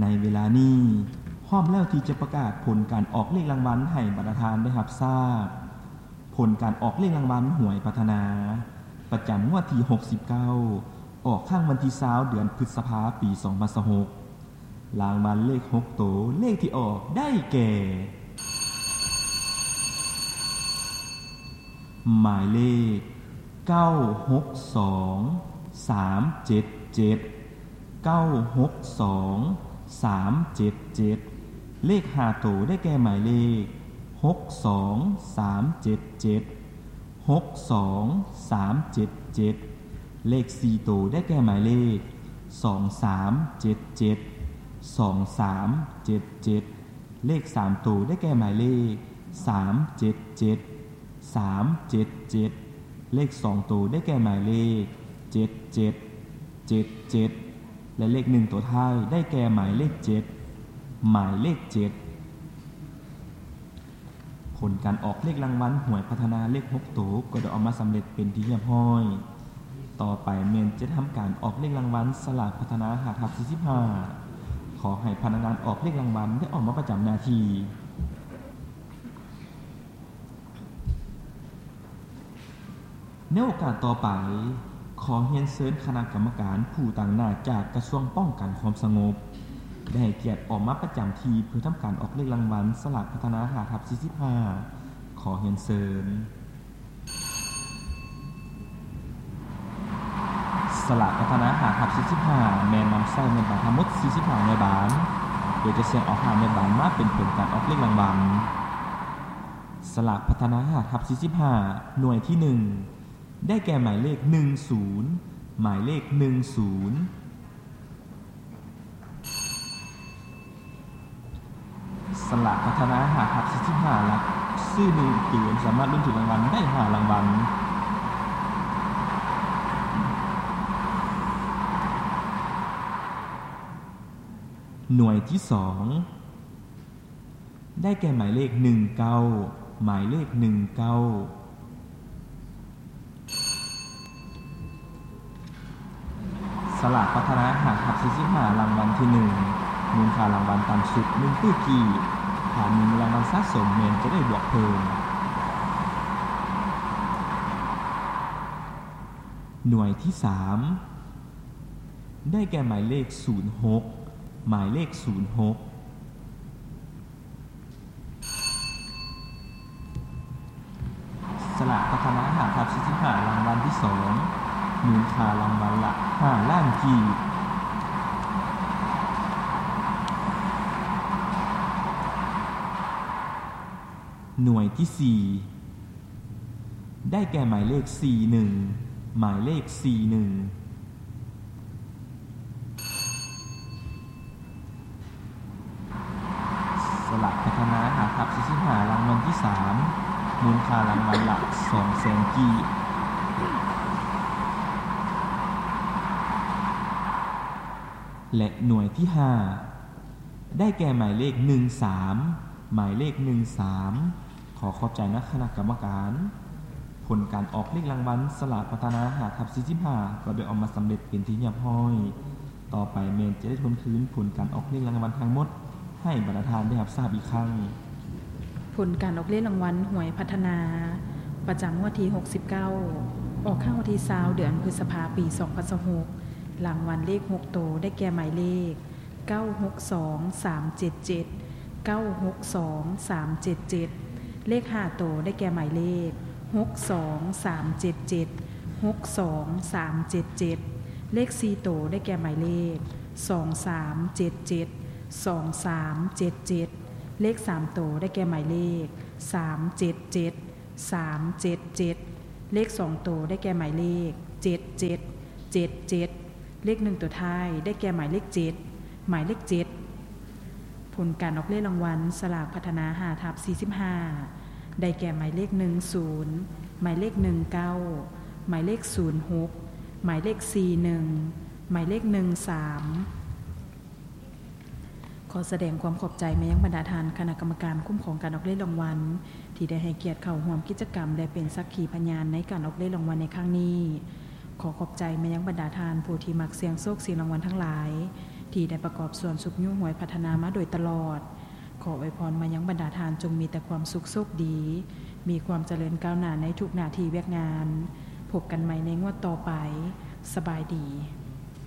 ໃນເວລານີ້ ພ້ອມແລ້ວທີ່ຈະປະກາດຜົນການອອກເລກລາງວັນໃຫ້ບັນດາທ່ານໄດ້ຮັບຊາບ. ຜົນການອອກເລກລາງວັນຫວຍພັດທະນາ ປະຈຳງວດທີຫົກສິບເກົ້າ ອອກຄັ້ງວັນທີຊາວ ເດືອນພຶດສະພາ ປີສອງພັນຊາວຫົກ. ລາງວັນເລກຫົກໂຕ ເລກທີ່ອອກໄດ້ແກ່ ໝາຍເລກ ເກົ້າຫົກສອງ ສາມເຈັດເຈັດ ເກົ້າຫົກສອງ ສາມເຈັດເຈັດ ເລກຫ້າໂຕໄດ້ແກ່ໝາຍເລກ ຫົກສອງ ສາມເຈັດເຈັດ ຫົກສອງ ສາມເຈັດເຈັດ ເລກສີ່ໂຕໄດ້ແກ່ໝາຍເລກ ສອງສາມເຈັດເຈັດ ສອງສາມເຈັດເຈັດ ເລກສາມໂຕໄດ້ແກ່ໝາຍເລກ ສາມເຈັດເຈັດ ສາມເຈັດເຈັດ ເລກສອງໂຕໄດ້ແກ່ໝາຍເລກ ເຈັດເຈັດ ເຈັດເຈັດ ແລະ ເລກໜຶ່ງໂຕທ້າຍໄດ້ແກ່ໝາຍເລກເຈັດ ໝາຍເລກເຈັດ. ຜົນການອອກເລກລາງວັນຫວຍພັດທະນາເລກຫົກໂຕ ກໍໄດ້ອອກມາສຳເລັດເປັນທີ່ຮຽບຮ້ອຍ. ຕໍ່ໄປແມ່ນຈະທຳການອອກເລກລາງວັນສະຫຼາກພັດທະນາຫ້າທັບສີ່ສິບຫ້າ. ຂໍໃຫ້ພະນັກງານອອກເລກລາງວັນໄດ້ອອກມາປະຈຳໜ້າທີ່. ໃນໂອກາດຕໍ່ໄປ, ຂໍຮຽນເຊີນຄະນະກຳມະການຜູ້ຕາງໜ້າຈາກກະຊວງປ້ອງກັນຄວາມສະຫງົບ ໄດ້ໃຫ້ກຽດອອກມາປະຈຳທີ່ເພື່ອທຳການອອກເລກລາງວັນສະຫຼາກພັດທະນາຫ້າທັບສີ່ສິບຫ້າ. ຂໍຮຽນເຊີນ. ສະຫຼາກພັດທະນາຫ້າທັບສີ່ສິບຫ້າ ແມ່ນນຳໃຊ້ໜ່ວຍບານທັງໝົດສີ່ສິບຫ້າໜ່ວຍບານ, ໂດຍຈະສ່ຽງເອົາຫ້າໜ່ວຍບານມາເປັນຜົນການອອກເລກລາງວັນ. ສະຫຼາກພັດທະນາຫ້າທັບສີ່ສິບຫ້າ ໜ່ວຍທີໜຶ່ງ ໄດ້ແກ່ໝາຍເລກໜຶ່ງສູນ ໝາຍເລກໜຶ່ງສູນ. ສະຫຼາກພັດທະນາຫ້າທັບສີ່ສິບຫ້າ ຫຼັກຊື່ໜຶ່ງເກມ ສາມາດລຸ້ນຖືກລາງວັນໄດ້ຫ້າລາງວັນ. ໜ່ວຍທີສອງ ໄດ້ແກ່ໝາຍເລກໜຶ່ງເກົ້າ ໝາຍເລກໜຶ່ງເກົ້າ. ສະຫຼາກພັດທະນາຫ້າທັບສີ່ສິບຫ້າ ລາງວັນທີໜຶ່ງ ມູນຄ່າລາງວັນຕ່ຳສຸດໜຶ່ງຕື້ກີບ, ຖ້າມີລາງວັນສະສົມແມ່ນຈະໄດ້ບວກເພີ່ມ. ໜ່ວຍທີສາມ ໄດ້ແກ່ໝາຍເລກສູນຫົກ ໝາຍເລກສູນຫົກ. ສະຫຼາກພັດທະນາຫ້າທັບສີ່ສິບຫ້າ ລາງວັນທີສອງ ມູນຄ່າລາງວັນລະຫ້າລ້ານກີບ. ໜ່ວຍທີສີ່ ໄດ້ແກ່ໝາຍເລກສີ່ໜຶ່ງ ໝາຍເລກສີ່ໜຶ່ງ. ສະຫຼາກພັດທະນາຫ້າທັບສີ່ສິບຫ້າ ລາງວັນທີສາມ ມູນຄ່າລາງວັນລະສອງແສນກີບ ແລະ ໜ່ວຍທີຫ້າ ໄດ້ແກ່ໝາຍເລກໜຶ່ງສາມ ໝາຍເລກໜຶ່ງສາມ. ຂໍຂອບໃຈນະຄະນະກຳມະການ. ຜົນການອອກເລກລາງວັນສະຫຼາກພັດທະນາຫ້າທັບສີ່ສິບຫ້າ ກໍໄດ້ອອກມາສຳເລັດເປັນທີ່ຮຽບຮ້ອຍ. ຕໍ່ໄປແມ່ນຈະໄດ້ທວນຄືນຜົນການອອກເລກລາງວັນທັງໝົດໃຫ້ບັນດາທ່ານໄດ້ຮັບຊາບອີກຄັ້ງ. ຜົນການອອກເລກລາງວັນຫວຍພັດທະນາ ປະຈຳງວດທີຫົກສິບເກົ້າ ອອກຄັ້ງວັນທີຊາວ ເດືອນພຶດສະພາ ປີສອງພັນຊາວຫົກ. ລາງວັນເລກຫົກໂຕ ໄດ້ແກ່ໝາຍເລກ ເກົ້າຫົກສອງ ສາມເຈັດເຈັດ ເກົ້າຫົກສອງ ສາມເຈັດເຈັດ. ເລກຫ້າໂຕ ໄດ້ແກ່ໝາຍເລກ ຫົກສອງ ສາມເຈັດເຈັດ ຫົກສອງ ສາມເຈັດເຈັດ. ເລກສີ່ໂຕ ໄດ້ແກ່ໝາຍເລກ ສອງສາມເຈັດເຈັດ ສອງສາມເຈັດເຈັດ. ເລກສາມໂຕ ໄດ້ແກ່ໝາຍເລກ ສາມເຈັດເຈັດ ສາມເຈັດເຈັດ. ເລກສອງໂຕ ໄດ້ແກ່ໝາຍເລກ ເຈັດເຈັດ ເຈັດເຈັດ. ເລກໜຶ່ງໂຕທ້າຍ ໄດ້ແກ່ໝາຍເລກເຈັດ ໝາຍເລກເຈັດ. ຜົນການອອກເລກລາງວັນສະຫຼາກພັດທະນາຫ້າທັບສີ່ສິບຫ້າ ໄດ້ແກ່ໝາຍເລກໜຶ່ງສູນ ໝາຍເລກໜຶ່ງເກົ້າ ໝາຍເລກສູນຫົກ ໝາຍເລກສີ່ໜຶ່ງ ໝາຍເລກໜຶ່ງສາມ. ຂໍສະແດງຄວາມຂອບໃຈມາຍັງບັນດາທ່ານຄະນະກຳມະການຄຸ້ມຄອງການອອກເລກລາງວັນ ທີ່ໄດ້ໃຫ້ກຽດເຂົ້າຮ່ວມກິດຈະກຳ ແລະ ເປັນສັກຂີພະຍານໃນການອອກເລກລາງວັນໃນຄັ້ງນີ້. ຂໍຂອບໃຈມາຍັງບັນດາທ່ານຜູ້ທີ່ມັກສ່ຽງໂຊກສ່ຽງລາງວັນທັງຫຼາຍ ທີ່ໄດ້ປະກອບສ່ວນຊຸກຍູ້ຮວຍພັດທະນາມາໂດຍຕະຫຼອດ. ຂໍອວຍພອນມາຍັງບັນດາທ່ານ ຈົ່ງມີແຕ່ຄວາມສຸກໂຊກດີ, ມີຄວາມຈະເລີນກ້າວໜ້າໃນທຸກໜ້າທີ່ວຽກງານ. ພົບກັນໃໝ່ໃນງວດຕໍ່ໄປ. ສະບາຍດີ.